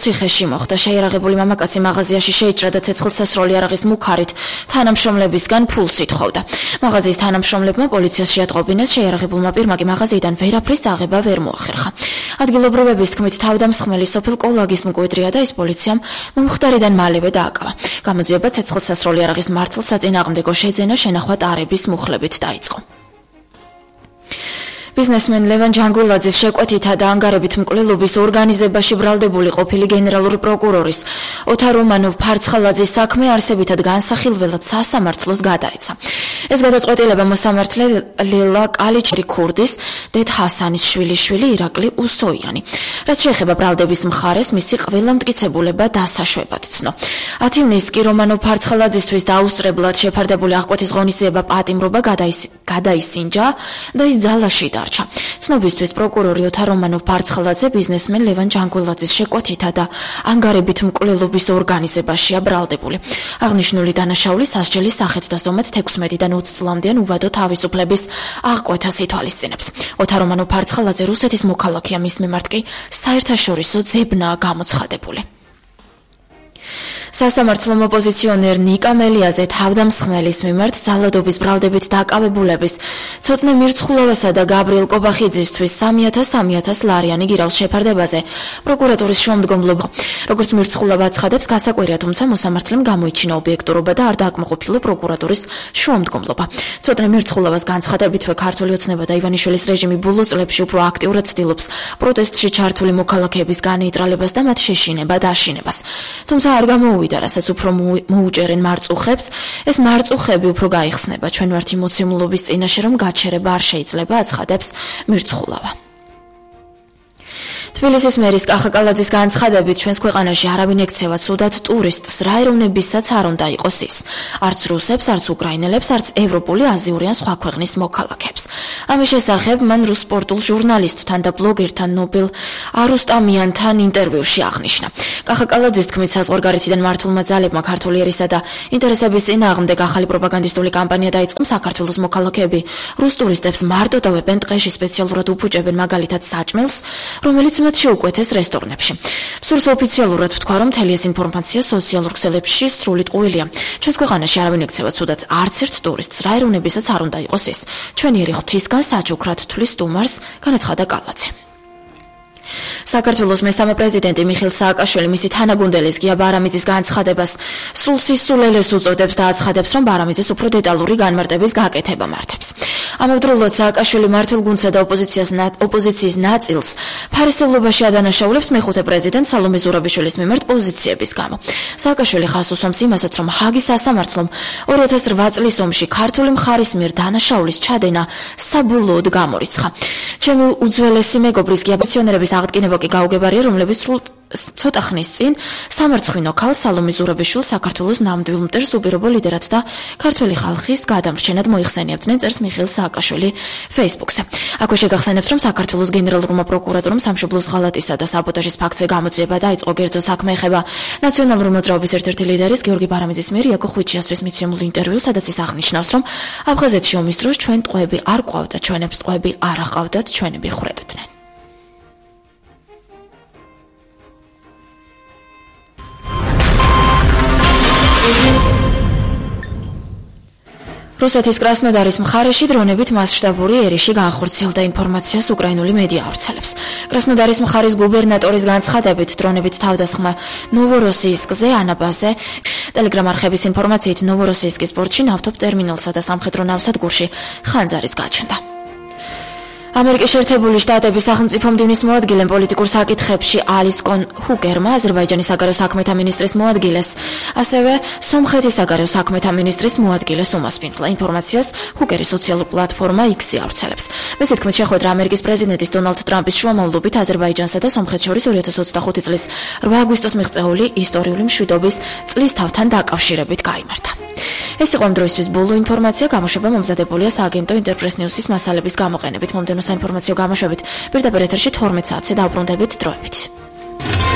ციხეში მოხდა. შეიარაღებული მამაკაცი მაღაზიაში შეიჭრა და ცეცხლსასროლი არაღის მუქარით თანამშრომლებისგან ფულს ითხოვდა. მაღაზიის თანამშრომლებმა პოლიციას შეატყობინეს, შეიარაღებულმა პირმა კი მაღაზიიდან ვერაფრის წაღება ვერ მოახერხა. ადგილობრივების თქმით, თავდამსხმელი სოფელ კოლაგის მკვიდრია და ის პოლიციამ მომხდარიდან მალევე დააკავა. გამოძიება ცეცხლსასროლი არაღის მართლს საწინააღმდეგო შეძენა შენახვა ტარების მუხლებით დაიწყო. ბიზნესმენ ლევან ჯანგულაძის შეკვეთითა და ანგარებით მკვლელობის ორგანიზებაში ბრალდებული ყოფილი გენერალური პროკურორის ოთარ რომანოვ ფარცხალაძის საქმე არსებითად განსახილველად სასამართლოს გადაეცა. ეს გადაწყვეტილება მოსამართლე ლელა კალიჩერი ქურდის, დედ ჰასანის შვილიშვილი ირაკლი უსოიანი. რაც შეეხება ბრალდების მხარეს, მისი ყველა მტკიცებულება დასაშვებად ცნო. 10 ივნისს კი რომანოვ ფარცხალაძისთვის დაუსწრებლად შეფარდებული აღკვეთის ღონისძიება პატიმრობა გადაისინჯა და ის ძალაში დარჩა. ცნობისთვის პროკურორი ოთარ რომანოვ ფარცხალაძე ბიზნესმენ ლევან ჯანგულაძის შეკვეთითა და ანგარებით მკვლელობის ორგანიზებაშია ბრალდებული. აღნიშნული დანაშაული სასჯელის სახით და ზომად 16-დან 20 წლამდეან უვადო თავისუფლების აღკვეთას ითვალისწინებს. ოთარ რომანოვ ფარცხალაძე რუსეთის მოქალაქეა, მის მიმართ კი საერთაშორისო ძებნაა გამოცხადებული. სასამართლომ ოპოზიციონერ ნიკა მელიაზე თავდამსხმელის მიმართ ძალადობის ბრალდებით დაკავებულების ცოტნე მირცხულოვასა და გაბრიელ კობახიძისთვის 3,000 ლარიანი გირავის შეფარდებაზე პროკურატურის შუამდგომლობა. როგორც მირცხულოვა აცხადებს, გასაკვირია, თუმცა მოსამართლემ გამოიჩინა ობიექტურობა და არ დააკმაყოფილა პროკურატურის შუამდგომლობა. ცოტნე მირცხულოვას განცხადებითვე ქართული ოცნება და ივანიშვილის რეჟიმი ბოლო წლებში უფრო აქტიურად ცდილობს პროტესტში ჩართული მოქალაქეების განეიტრალებას და მათ შეშინება და აშინებას. თუმცა არ გამოუვიდა, რასაც უფრო მოუჭერენ მარწუხებს, ეს მარწუხები უფრო გაიხსნება. ჩვენ ვართ იმოცემულობის წინაშე, რომ გაჩერება არ შეიძლება, აცხადებს მირცხულოვა. თბილისის მერის კახაკალაძის განცხადებით, ჩვენს ქვეყანაში არავინ ექცევა ცუდად ტურისტს, რა ეროვნებისაც არ უნდა იყოს ის. არც რუსებს, არც უკრაინელებს, არც ევროპული, აზიური ან სხვა ქვეყნის მოქალაქეებს. ამის შესახებ მან რუს სპორტულ ჟურნალისტთან და ბლოგერთან ნობელ არუსტამიანთან ინტერვიუში აღნიშნა. კახაკალაძის თქმით, საზღვარგარეთიდან მართულმა ძალებმა ქართული ერისა და ინტერესების წინააღმდეგ ახალი პროპაგანდისტული კამპანია დაიწყო. საქართველოს მოქალაქეები რუს ტურისტებს მარტო დავებენ ტყეში, სპეციალურად უფუჭებენ მაგალითად საჭმელს, რომელიც მათ შეუკვეთეს რესტორნებში. სურს ოფიციალურად ვთქვა, რომ მთელი ეს ინფორმაცია სოციალურ ქსელებში სრული ტყუილია. ჩვენს ქვეყანაში არავინ ექცევა ცუდად არც ერთ ტურისტს, რა ეროვნებისაც არ უნდა იყოს ის. ჩვენიერი ღვთისგან საჩუქრად თვლის სტუმარს, განაცხადა კალაძე. საქართველოს მესამე პრეზიდენტი მიხეილ სააკაშვილი მისი თანაგუნდელის გია ბარამიძის განცხადებას სრულ სისულელეს უწოდებს და აცხადებს, რომ ბარამიძეს უფრო დეტალური განმარტების გაკეთება მართებს. ამავდროულად სააკაშვილი მმართველ გუნდსა და ოპოზიციის ნაწილს ფარისევლობაში ადანაშაულებს მეხუთე პრეზიდენტ სალომე ზურაბიშვილის მიმართ პოზიციების გამო. სააკაშვილი ხაზს უსვამს იმასაც, რომ ჰაგის სასამართლომ 2008 წლის ომში ქართული მხარის მიერ დანაშაულის ჩადენა საბოლოოდ გამორიცხა. ჩემი უძველესი მეგობრის გია პენსიონერების აღდგენება კი გაუგებარია, რომლებიც სრულ ცოტა ხნის წინ სამარცხვინო ქალ სალომე ზურაბიშვილს საქართველოს ნამდვილ მტერს უპირობო ლიდერად და ქართველი ხალხის გადამრჩენად მოიხსენიებდნენ, წერს მიხეილ სააკაშვილი Facebook-ზე. აქვე შეგახსენებთ, რომ საქართველოს გენერალურმა პროკურატურამ სამშობლოს ღალატისა და საბოტაჟის ფაქტზე გამოძიება დაიწყო. კერძოდ საქმე ეხება ნაციონალური მოძრაობის ერთ-ერთი ლიდერის გიორგი ბარამიძის მიერ იაკო ხვიჩიასთვის მიცემულ ინტერვიუს, სადაც ის აღნიშნავს, რომ აფხაზეთში ომის დროს ჩვენ ტყვეები არ ყვავდა, ჩვენებს ტყვეები არ აყავდათ, ჩვენები ხვრედდნენ. რუსეთის კრასნოდარის მხარეში დრონებით მასშტაბური ერიში განხორციელდა ინფორმაციას უკრაინული მედია ავრცელებს. კრასნოდარის მხარის გუბერნატორის განცხადებით, დრონებით თავდასხმა ნოვოროსიისკზე, ანაბაზე, ტელეგრამ არხების ინფორმაციით ნოვოროსიისკის პორტში, ნავთობ ტერმინალსა და სამხედრო ნავსადგურში ხანძარის გაჩნდა. ამერიკის შეერთებული შტატების სახელმწიფო მდივნის მოადგილემ პოლიტიკურ საკითხებში ალის კონ ჰუკერმა, აზერბაიჯანის საგარეო საქმეთა მინისტრის მოადგილეს, ასევე სომხეთის საგარეო საქმეთა მინისტრის მოადგილეს უმასპინძლა. ინფორმაციას ჰუკერის სოციალურ პლატფორმა X-ი ავრცელებს. მისით თქმით, შეხვედრა ამერიკის პრეზიდენტის დონალდ ტრამპის შუამავლობით აზერბაიჯანსა და სომხეთს შორის 2025 წლის 8 აგვისტოს მიღწეული ისტორიული მშვიდობის წლისთავთან დაკავშირებით გაიმართა. ეს იყო ამ დროისთვის ბოლო ინფორმაცია, გამოშვება მომზადებულია სააგენტო ინტერპრეს ნიუსის მასალების გამოყენებით. მომდევნო საინფორმაციო გამოშვებით პირდაპირ ეთერში 12 საათზე დაუბრუნდებით დროებით.